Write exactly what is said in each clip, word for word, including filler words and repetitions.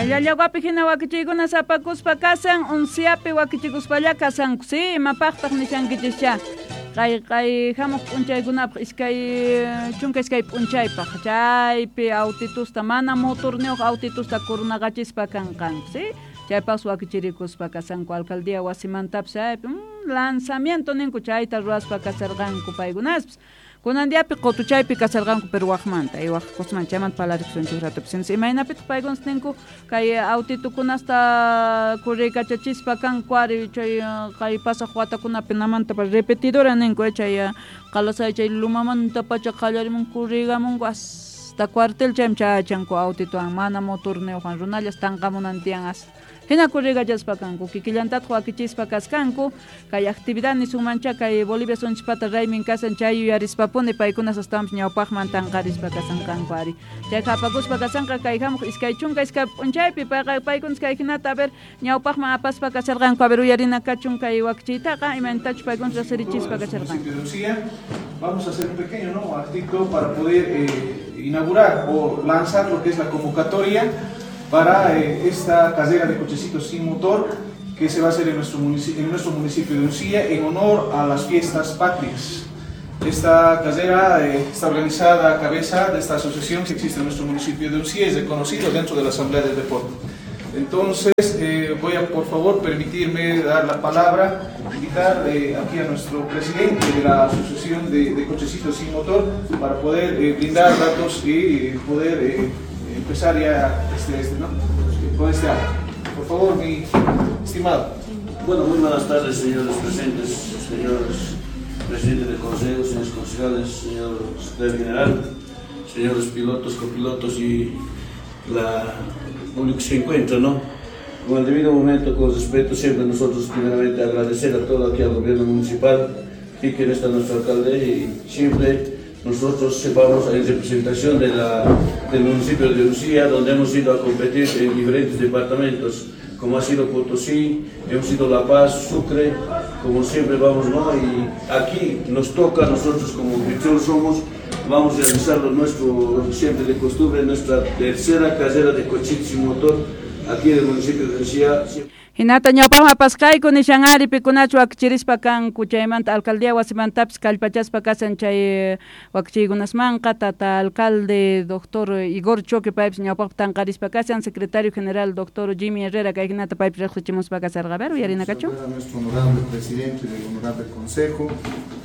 Llallaguapi hina wakichiykuna sapakuspa kasan, Unciapi wakichikuspalla kasanku, si, imapaqtaq nishankichischa. Kay kay hamuq p'unchaykunapaq iskay chunka iskay p'unchaypaq chaypi autitusta mana motorniyuq autitusta kurnaqachispa kanqanku, si. Chaypas wakichirikuspa kasanku alcaldía wasimantapis chaypi mm, lanzamiento ninku chayta ruwaspa kasarqanku paykunaspis. Kunan diapi qutuchaypi kasarqanku pero waqmanta y waq kusman chaymanta parlarikusunchik ratupis. Imaynapitaq paykunas ninku kay autitukunasta kurriykachachispa kanku ari chay kay pasaq watakunapi namanta repetidora ninku chay qalasay chay lumamanta pacha qallarimun kurriykamunku hasta cuartel chaymi chayachanku autituwan mana motorniyuqwan runallas tanqamunan tiyan hasta. Hina kurriykachaspa kanku kikillantataq wakichispa kaskanku kay actividad nisunmancha kay Bolivia sunchpata raymin kasan chay yuyarispapuni paykunas astawanpis ñawpaqman tanqarispa kasanqanku ari chay hapakuspa kasanqa kay hamuq iskay chunka iskay p'unchaypi payqa paykunas kay hinata a ver ñawpaqman apaspa kasarqanku a ver uyarina kachun kay wakichiytaqa imaynatachus paykunas riqsirichispa kasarqanku. Vamos a hacer un pequeño, ¿no?, artículo para poder eh, inaugurar o lanzar lo que es la convocatoria para eh, esta carrera de cochecitos sin motor que se va a hacer en nuestro municipio, en nuestro municipio de Uncía en honor a las fiestas patrias. Esta carrera eh, está organizada a cabeza de esta asociación que existe en nuestro municipio de Uncía y es reconocido dentro de la Asamblea del Deporte. Entonces, eh, voy a, por favor, permitirme dar la palabra, invitar eh, aquí a nuestro presidente de la Asociación de, de Cochecitos Sin Motor para poder eh, brindar datos y poder eh, empezar ya este, este, ¿no?, con este acto. Por favor, mi estimado. Bueno, muy buenas tardes, señores presentes, señores presidentes del Consejo, señores concejales, señor secretario general, señores pilotos, copilotos y la público que se encuentra, ¿no? Con el debido momento, con respeto, siempre nosotros primeramente agradecer a todo aquí al gobierno municipal y que está nuestro alcalde y siempre nosotros vamos en representación de la, del municipio de Uncía, donde hemos ido a competir en diferentes departamentos, como ha sido Potosí, hemos ido La Paz, Sucre, como siempre vamos, ¿no? Y aquí nos toca, nosotros como anfitrión somos, vamos a realizar lo nuestro, siempre de costumbre, nuestra tercera carrera de cochitos sin motor aquí en el municipio de Uncía. Hinata ñawpaqman apasqayku nishan ari pikunachu wakichirispa kanku chaymanta alcaldía wasimantapis kallpachaspa kasan chay wakichiykunasmanqa tata alcalde doctor Igor Choque paypis ñawpaqpi tanqarispa kasan secretario general doctor Jimmy Herrera kay hinata paypis riqsichimuspa kasarqa. A ver, uyarina kachun. A nuestro honorable presidente del honorable consejo,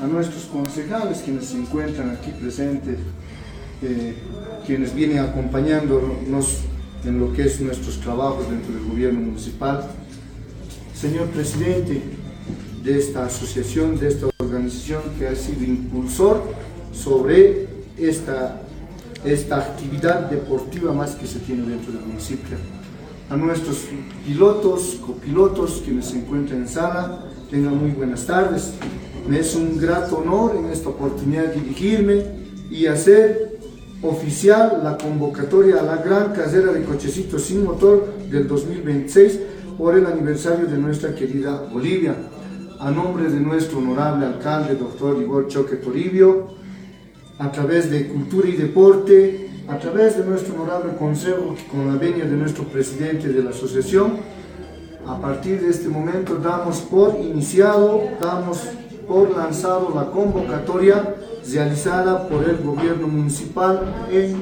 a nuestros concejales quienes se encuentran aquí presentes, eh, quienes vienen acompañándonos en lo que es nuestros trabajos dentro del gobierno municipal. Señor presidente de esta asociación, de esta organización que ha sido impulsor sobre esta, esta actividad deportiva más que se tiene dentro del municipio. A nuestros pilotos, copilotos, quienes se encuentran en sala, tengan muy buenas tardes. Me es un grato honor en esta oportunidad dirigirme y hacer oficial la convocatoria a la gran carrera de cochecitos sin motor del dos mil veintiséis por el aniversario de nuestra querida Bolivia. A nombre de nuestro honorable alcalde, doctor Igor Choque Toribio, a través de Cultura y Deporte, a través de nuestro honorable consejo, con la venia de nuestro presidente de la asociación, a partir de este momento damos por iniciado, damos por lanzado la convocatoria realizada por el gobierno municipal en,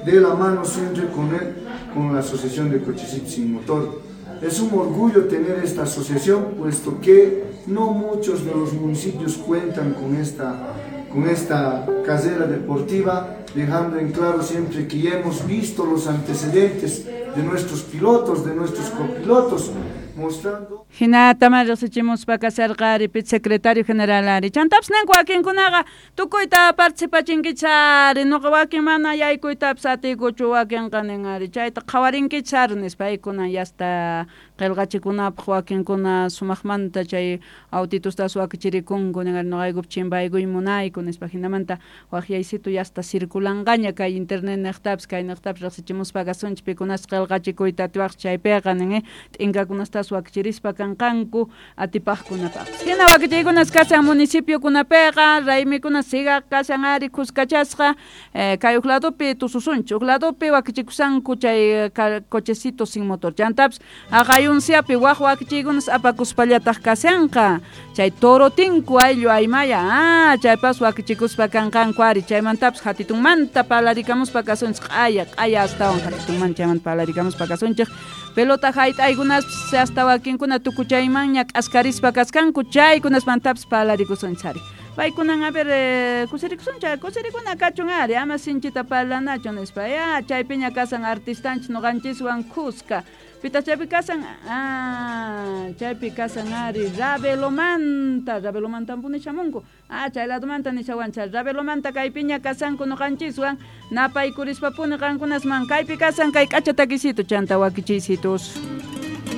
de la mano siempre con, el, con la Asociación de Cochecitos Sin Motor. Es un orgullo tener esta asociación, puesto que no muchos de los municipios cuentan con esta, con esta carrera deportiva, dejando en claro siempre que ya hemos visto los antecedentes de nuestros pilotos, de nuestros copilotos, mostrando... Hinata riqsichimuspa kasarqa ari pit secretario general ari. Chantapis ninku wakinkunaqa tukuyta participachinkichari, nuqa wakin mana yaykuytapis atiykuchu wakinqa nin ari. Chayta qhawarinkichari nispa paykuna yasta qillqachikunapaq wakinkuna sumaqmanta chay autitostas wakichirikunku nin ari nuqaykup chimpaykuy munayku nispa hinamanta waqyaysitu yasta circulanqaña kay internet niqtapis kay niqtapis riqsichimuspa kasunchik pikunas qillqachikuyta atiwaq chaypiqa nin t'inkakunastas chaypas wakichirispa kanqanku atipaqkunapaqpis. Hina wakichiykunas kashan municipiokunapiqa raymikuna siga kashan ari kuskachasqa eh, kay huk ladopi tususunchik huk ladopi wakichikusanku chay cochecito sin motor chantapis haqay unsiapi waq wakichiykunas apakuspallataq kashanqa chay torotinku ayllu aymaya ah chaypas wakichikuspa kanqanku ari chaymantapis hatitunmanta parlarikamuspa kasunchik q'aya q'aya astawan hatitunmanta chaymanta parlarikamuspa kasunchik pelota hayt'aykunaspis hasta wakinkuna tukuchaymanña k'askarispa kaskanku chaykunasmantapis parlarikusunchik ari paykunan a ver eh, kusirikusunchik kusirikuna kachun ari ama sinchita parlanachu nispa ya chaypiña kasan artistanchik ñuqanchiswan kuska pitaq chaypi kasan ah chaypi kasan ari Ravelomanta Ravelomantampuni shamunku ah chay ladomanta nishawanchik Ravelomanta kaypiña kasanku ñuqanchiswan napaykurishpapuni qankunasman kaypi kasan kay k'acha takisito chanta wakichiysitus.